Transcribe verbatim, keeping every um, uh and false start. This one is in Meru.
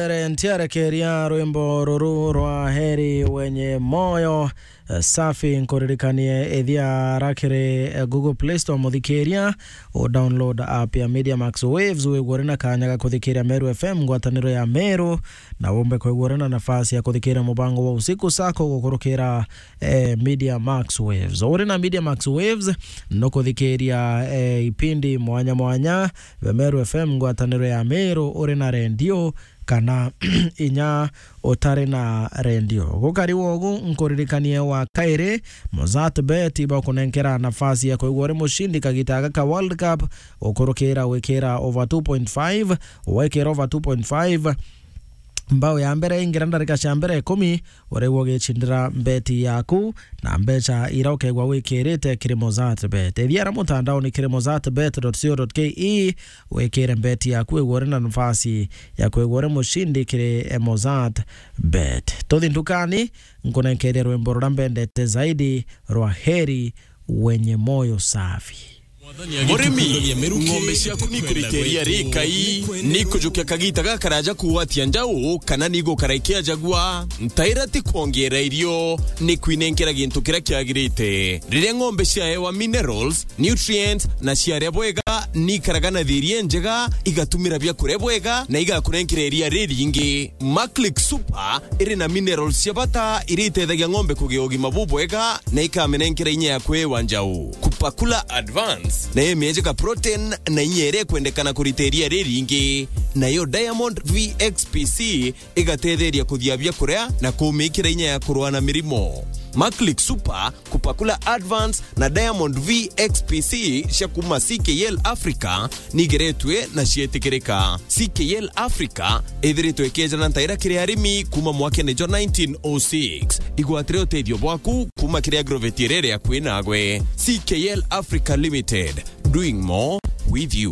Ntiarekeria rwimbo ruru rwa Heri Wenye Moyo, eh, Safi. Nkuririkanie, ithia rakiri, eh, Google Play Store, muthikiria, u download app ya Media Max Waves, wigua uri na kanya ga kuthikiria Meru F M, ngwataniro ya Meru, na wumbe kwigua uri na nafasi ya kuthikiria mubango wa Usiku Sako gukurukira, eh, Media Max Waves. Uri na Media Max Waves, nukuthikiria, eh, ipindi mwanya mwanya, Meru F M, ngwataniro ya Meru, uri na rendio, kana inya utari na rendio. Gukari wogu, nkuririkanie wa kairi, Mozart Bet ibakunenkera nafasi ya kwigua uri mushindi kagita gaka ka World Cup, ukurukira wikira over two point five, wekira over two point five, mbao ya mbere ingira ndarika cia mbere ikumi, urigwa ugicindira mbeti yaku na mbeca ira ukegwa wikirite kiri Mozart Bet. Ithiara mutandaoni kiri mozart bet dot co dot ke, wikire mbeti yaku, wigua uri na nafasi ya kwigua uri mushindi kiri, eh, Mozart Bet. Tuthi ndukani, nkunenkeria rwimbo ruria mbendete zaidi rwa Heri Wenye Moyo Safi. Murimi, ng'ombe ciaku nikuriteria rikai, nikujukia kagita gakaraja kuwatia njau, kana nigukara ikiajagua, ntaira ti kwongeera irio, ni kwinenkera gintu kiria kiagirite. Riria ng'ombe ciaewa minerals, nutrients, na ciaria bwega, nikaraga na thiiri injega, igatumira biakuria bwega, na igakurenkera iria riringi. Maclick Super iri na minerals cia bata iria itethagia ng'ombe kugia ugima bubwega na ikamenenkera inya ya kwewa njau. Kupakula Advance nayo imiejeka protein na inya iria ikwendekana kurita iria riringi. Nayo Diamond V X P C igatetheria kuthia biakuria na kumikira inya ya kurua na mirimo. Maclick Super, Kupakula Advance na Diamond V X P C cia kuma C K L Africa nigeretwe na cietikirika. C K L Africa ithiritwe ikejana ntaira kiri arimi kuma mwakene jwa nineteen oh six. Igwatire utethio bwaku kuma kiri agrovet iria iri akui nagwe. C K L Africa Limited, doing more with you.